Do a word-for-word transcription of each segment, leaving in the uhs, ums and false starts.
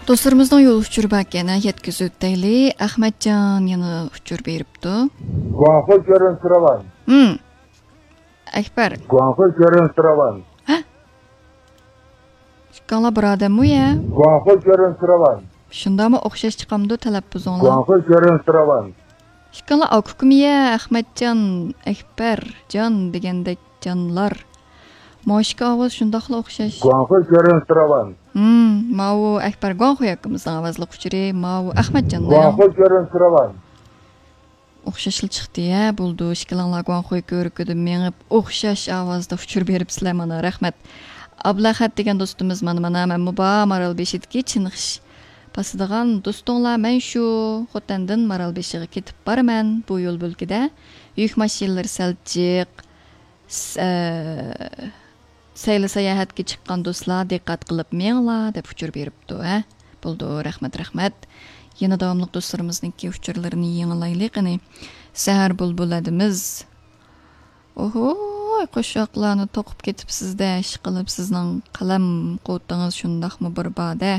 دوستلىرىمىزنىڭ يول ئۇچۇرى باركەن، يەتكۈزۈۋۆتەيلى. ئەخمەتجان يەنە ئۇچۇر بېرىپتۇ. گۇاڭخۇي كۆرۈنۈشى راۋان. ھىم. ئەكبەر. گۇاڭخۇي كۆرۈنۈشى راۋان. ھە؟ ئىككىڭلار بىر ئادەممۇ يە؟ گۇاڭخۇي كۆرۈنۈشى راۋان. شۇنداقمۇ ئوخشاش چىقامدۇ تەلەپپۇزۇڭلار؟ گۇاڭخۇي كۆرۈنۈشى راۋان. ئىككىڭلار ئاكا-ئۇكىمۇ يە؟ ئەخمەتجان، ئەكبەرجان دېگەندەك جانلار. ماۋۇ ئىككى ئاۋاز شۇنداقلا ئوخشاش. گۇاڭخۇي كۆرۈنۈشى راۋان. ھىم، ماۋۇ ئەكبەر گۇاڭخۇي ئاكىمىزنىڭ ئاۋازلىق ئۇچۇرى، ماۋۇ ئەخمەتجاننىڭ. گۇاڭخۇي كۆرۈنۈشى راۋان. ئوخشاشلا چىقتى ھە، بولدى. ئىككىلىڭلار گۇاڭخۇي كۆۋرۈكىدە مېڭىپ، ئوخشاش ئاۋازدا ئۇچۇر بېرىپسىلەر مانا، رەھمەت. ئابلەخەت دېگەن دوستىمىز مانا، مانا، مەنمۇ بار مارالبېشىدىكى چىنخىش باسىدىغان دوستۇڭلار، مەن شۇ خوتەندىن مارالبېشىغا كېتىپ بارىمەن. بۇ يول بۆلىكىدە يۈك ماشىنىلىرى سەل جىق. س-، ئە، سەيلە ساياھەتكە چىققان دوستلار دىققەت قىلىپ مېڭىڭلار دەپ ئۇچۇر بېرىپتۇ، ھە؟ بولدى، رەھمەت، رەھمەت. يەنە داۋاملىق دوستلىرىمىزنىڭكى ئۇچۇرلىرىنى يېڭىلايلى قېنى. سەھەر بۇلبۇل ھەدىمىز. ئوھوي، قوشاقلارنى توقۇپ كېتىپسىز-دە، ئىشقىلىپ سىزنىڭ قەلەم قۇۋۋىتىڭىز شۇنداقمۇ بىر بار-دە.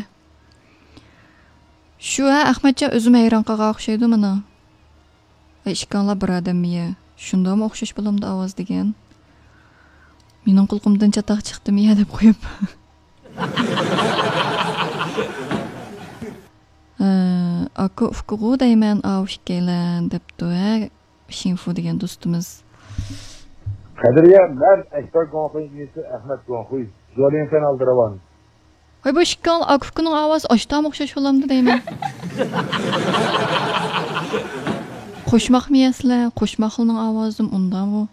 شۇ ھە، ئەخمەتجان ئۆزىمۇ ھەيران قالغان ئوخشايدۇ مانا. ۋە ئىككىڭلار بىر ئادەممۇ يە؟ شۇنداقمۇ ئوخشاش بولامدۇ ئاۋاز دېگەن؟ مېنىڭ قۇلىقىمدىن چاتاق چىقتىمۇ يە دەپ قويۇپ. ئە، ئاكا ئۇكىغۇ دەيمەن ئاۋۇ ئىككىيلەن دەپتۇ ھە، شىنفۇ دېگەن دوستىمىز. قەدرىيە، مەن ئەكبەر گۇاڭخۇي ئىنىسى ئەخمەت گۇاڭخۇي. جولىڭفەن ئالدى راۋان. ۋاي، بۇ ئىككىڭلار ئاكا-ئۇكىنىڭ ئاۋازى ئاشتامۇ ئوخشاش بولامدۇ دەيمەن. قوشماقمۇ يەسىلەر؟ قوشماقلىنىڭ ئاۋازىمۇ ئۇنداقمۇ؟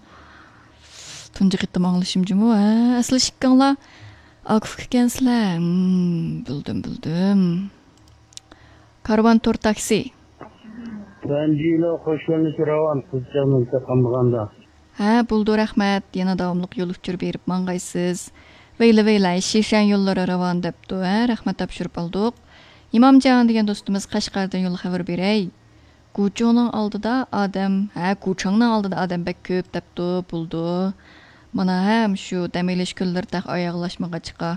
تۇنجى قېتىم ئاڭلىشىم جۇمۇ، ھە؟ ئەسلى ئىككىڭلار ئاكا-ئۇكا ئىكەنسىلەر. ھىم، بىلدىم، بىلدىم. كارۋان تور تاكسى. تۇەنجىلو خوش كۆرۈنۈشى راۋان، قىزچاقنى قالمىغاندا. ھە، بولدى، رەھمەت. يەنە داۋاملىق يول ئۇچۇر بېرىپ ماڭغايسىز. ۋەيلە، ۋەيلە، شىشەن يوللىرى راۋان دەپتۇ، ھە، رەھمەت تاپشۇرۇپ ئالدۇق. ئىمامجان دېگەن دوستىمىز قەشقەردىن يول خەۋىرى بېرەي. گۇچۇڭنىڭ ئالدىدا ئادەم، ھە، گۇچاڭنىڭ ئالدىدا ئادەم بەك كۆپ دەپتۇ، بولدى. مانا ھەم شۇ دەم ئېلىش كۈنلىرى تېخى ئاياغلاشمىغاچقا.